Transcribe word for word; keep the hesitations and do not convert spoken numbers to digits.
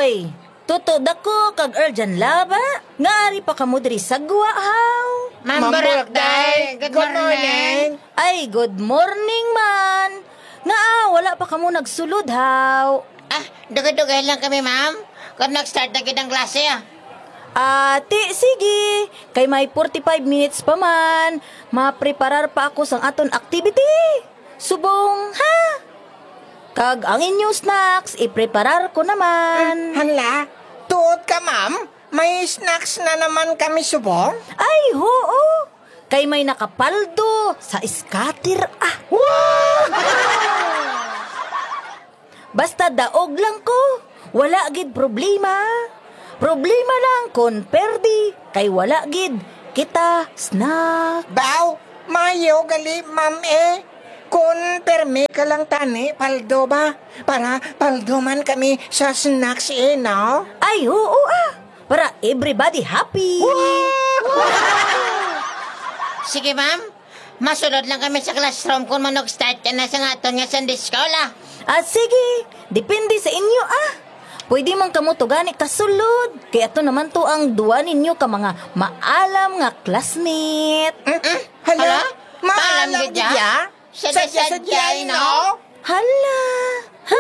Ay, Tuto Dako kag Erjan Laba, nga ari pa kamo diri sa gwa, haw? Ma'am Ma'am Burak, Burak, day. Day. Good Good morning. morning. Ay, good morning man. Nga, ah, wala pa kamo nagsulod, haw? Ah, dugay-dugay lang kami, ma'am. Kung nag-start na gid ang klase, ah. Ah, ti, sige. Kay may forty-five minutes pa man. Mapreparar pa ako sang aton activity. Subong, ha? Kag ang inyo snacks, ipreparar ko naman. Hala, tuod ka, ma'am? May snacks na naman kami subong? Ay, huo. Kay may nakapaldo sa scatter, ah. Wow! Basta daog lang ko, wala gid problema. Problema lang kon perdi, kay wala gid kita snack. Baw, mayo gali, ma'am, eh. Kon permi ka lang tani, paldo ba? Para paldo man kami sa snacks, eh, no? Ay, oo, ah. Para everybody happy. Sige, ma'am. Masulod lang kami sa classroom kung manag-start ka na sa aton nga Sunday school, ah. Ah, sige. Depende sa inyo, ah. Pwede man kamo to gani kasulod. Kay ato naman to ang duwa ninyo ka mga maalam nga classmate. Mm-mm. Hala, Hala? Maalam Maalam gid gid ya? ya? Sadya-sadya, Sadya-sadya, no? no? Hala. Ha?